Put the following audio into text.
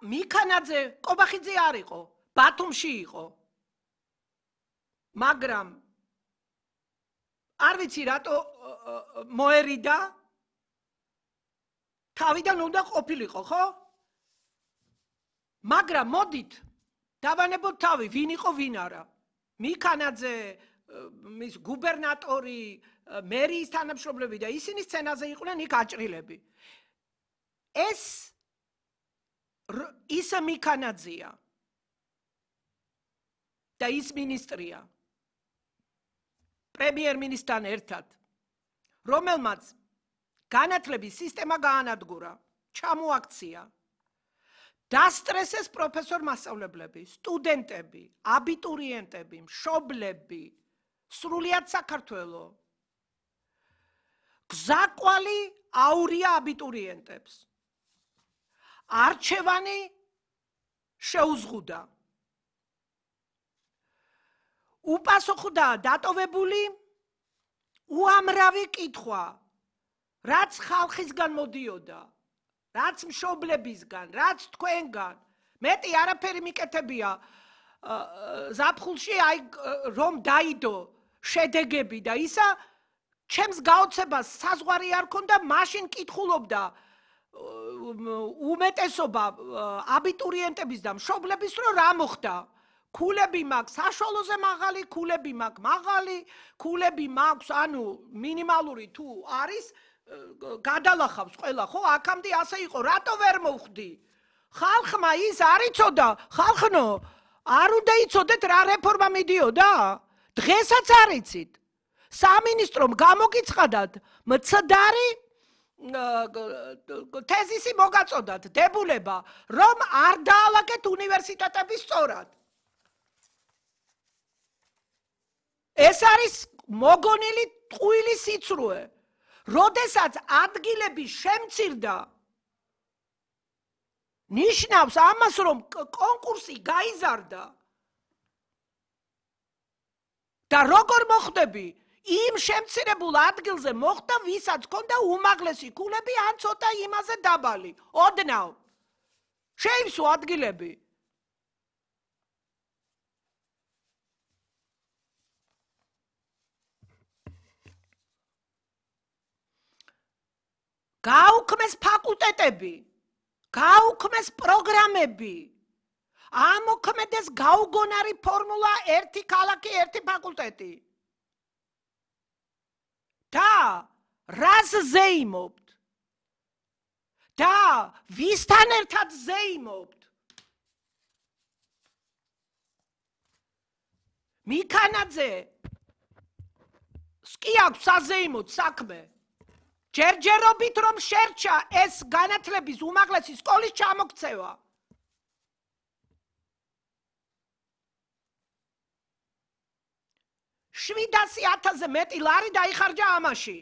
მიქანაძე კობახიძე არ იყო, ბათუმში იყო. მაგრამ არ ვიცი რატო მოერიდა თავიდან უნდა ყოფილიყო, ხო? მაგრამ მოდით დავანებოთ თავი, ვინ იყო, ვინ არა. მიქანაძე, მის გუბერნატორი, მერიის თანამშრომლები და ისინი სცენაზე იყვნენ იქ აჭრილები. ეს ის მიქანაძეა და ის მინისტრია პრემიერ-მინისტრთან ერთად, რომელმაც განათლების სისტემა გაანადგურა, ჩამოაქცია, დასტრესეს პროფესორ-მასწავლებლები, სტუდენტები, აბიტურიენტები, მშობლები, სრულიად საქართველო. გზაკვალი აურია აბიტურიენტებს. არჩევანი შეუზღუდა. უპასუხდა დატოვებული უამრავი კითხვა, რაც ხალხისგან მოდიოდა, რაც მშობლებისგან, რაც თქვენგან. მეტი არაფერი მიკეთებია ზაფხულში, აი რომ დაიდო შედეგები და ისა ჩემს გაოცებას საზღვარი არ ქონდა, მაშინ კითხულობდა უმეტესობა აბიტურიენტების და მშობლების, რომ რა მოხდა. ქულები მაქვს საშუალოზე მაღალი, ქულები მაქვს მაღალი, ქულები მაქვს, ანუ მინიმალური თუ არის, გადალახავს ყველა, ხო? აქამდე ასე იყო, რატო ვერ მოვხდი? ხალხმა ის არ იცოდა, ხალხნო, არ უნდა იცოდეთ რა რეფორმა მიდიოდა? დღესაც არ იცით. სამინისტრომ გამოგიცხადათ მცდარი თეზისი მოგაწოდათ დებულება, რომ არ დაალაგეთ უნივერსიტეტები სწორად. ეს არის მოგონილი ტყუილი სიცრუე. როდესაც ადგილები შემცირდა, ნიშნავს ამას, რომ კონკურსი გაიზარდა. და როგორ მოხდები? იმ შემცირებულ ადგილზე მოხდა, ვისაც ჰქონდა უმაღლესი ქულები, ან ცოტა იმაზე დაბალი. ოდნავ. შეივსო ადგილები. გაუქმეს ფაკულტეტები, გაუქმეს პროგრამები, ამოქმედეს გაუგონარი ფორმულა ერთი ქალაქი, ერთი ფაკულტეტი. და რას ზეიმობთ? და ვისთან ერთად ზეიმობთ? მიქანაძე კი აქვს საზეიმოდ საქმე. ჯერჯერობით რომ შერჩა ეს განათლების უმაღლესი სკოლის ჩამოქცევა. 700,000-ზე მეტი ლარი დაიხარჯა ამაში.